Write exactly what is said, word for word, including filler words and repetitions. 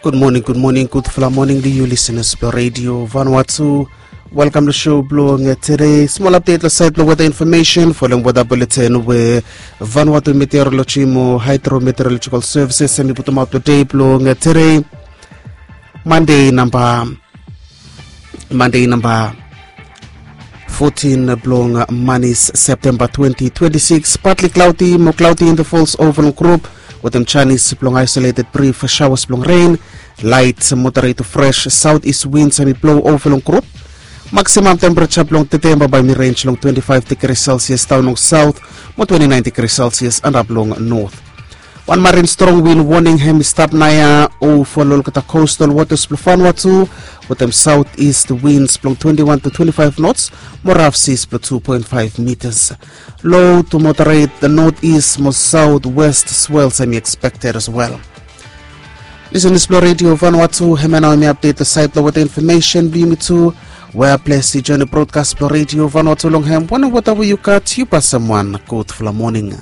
Gud moning, gud moning, gudfala moning long yu lisenas blong redio Vanuatu. Welkam long show blong tede. Smol apdet long sait blong weta infomesen folem weta buleten we Vanuatu Meteorologi mo Hydrometeorological Services em i putumaot long dei blong tede, Mande namba Mande namba fotin blong manis Septemba twenti twenti sikis. Patli klaudi mo klaudi intervals ova long grup wetem janis blong aisoleted brif shawas blong ren. Lait moderet tu fres saut is wins em i blo ova long grup. Maksimam tempereja blong tede bambae mi renj long twenti faef digri selsias daon long saut mo twenti naen digri selsias antap long not. Wan marin strong win woning hem i stap naoia ova long olgeta kostal wotas blong Vanuatu wetem saut ist wins blong twenti wan tu twenti faef nots mo raf sis blong tu poen faef mitas. Lo tu moderet not ist mo saut west swels em i ekspekted as wel. Lisenas blong redio Vanuatu, hem ya nao em i apdet long sait blong weta infomesen blong yumi tu. Wea ples i joen long brodkas blong redio Vanuatu long hem wanem weta we yu gat, yu pasem wan gudfala moning.